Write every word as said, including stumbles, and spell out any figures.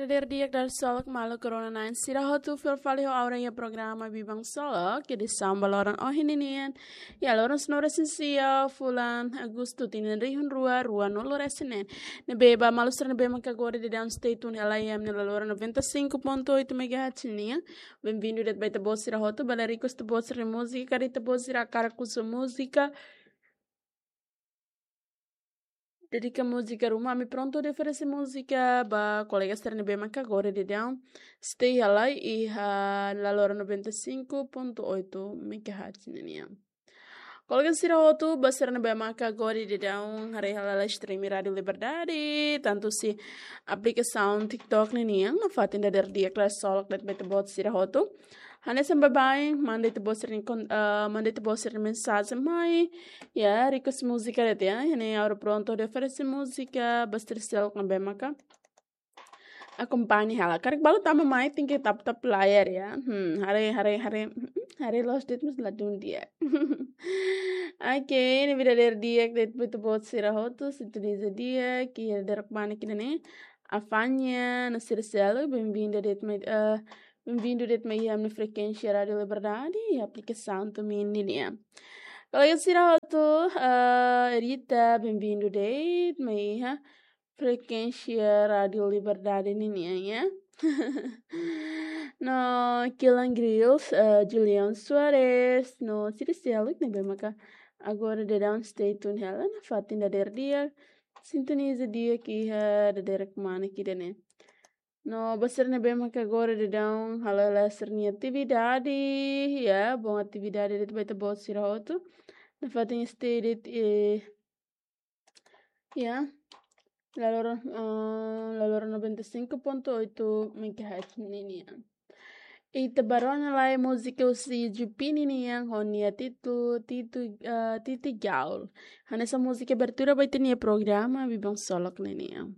Dadeer di'ak, dadeer solok maluk rona-na'in sira hotu, fila fali ho ha'u-nia programa Biban Solok, edisaun ba loron ohin ninian. Iha loron sanulu-resin-sia fulan Agostu tinan rihun rua ruanulu-resin-neen. Ne'ebé ba maluk sira ne'ebé maka agora daudaun stay tune hela iha ami-nia laloran noventa e cinco ponto oito megahertz nian. Benvindu de'it ba ita-boot sira hotu, bele request ita-boot sira múzika, karik ita-boot sira hakarak husu múzika, dedika múzika ruma, ami prontu hodi oferese múzika ba kolega sira ne'ebé maka agora daudaun stay hela iha laloran noventa e cinco ponto oito megahertz ninian. Kolega sira hotu, ba sira ne'ebé maka agora daudaun haree hela live stream Rádio Liberdade, tantu husi aplikasaun TikTok ninian, nafatin dadeer di'ak, dadeer solok de'it ba ita-boot sira hotu. Hanesan baibain, manda ita-boot sira-nia kon-, eh, manda ita-boot sira-nia mensajen mai. Ya, request múzika de'it ya. Iha ne'e ha'u prontu hodi oferese múzika ba sira seluk ne'ebé maka akompaña hela. Karik balu tama mai, tenke tap-tap layar ya. Hmm, haree, haree, haree, hmm, haree loos de'it mós ladún di'ak. Oke, ne'ebé dadeer di'ak de'it ba ita-boot sira hotu, sintoniza di'ak iha dadeer kmanek ida-ne'e. Afanya, no sira seluk, benvindu de'it mai, eh, benvindu de'it mai iha ami-nia frekuénsia Rádio Liberdade, iha aplikasaun TuneIn nian. Kolega sira hotu, eh, Rita, benvindu de'it mai iha frekuénsia Rádio Liberdade ninian ya. No Kilan Grills, eh, Julian Soares, no sira seluk ne'ebé maka agora daudaun stay tune hela, nafatin dadeer di'ak, sintoniza di'ak iha dadeer kmanek ida-ne'e. No ba sira ne'ebé maka agora daudaun hala'o hela sira-nia atividade, ya, bom atividade de'it ba ita-boot sira hotu. Nafatin stay de'it, eh, ya, laloran, eh, laloran noventa e cinco ponto oito megahertz ninian. Ita bá rona lai múzika husi Jupini nian ho nia títulu, titu, eh, Titi Gaul. Hanesan múzika abertura ba ita-nia programa Biban Solok ninian.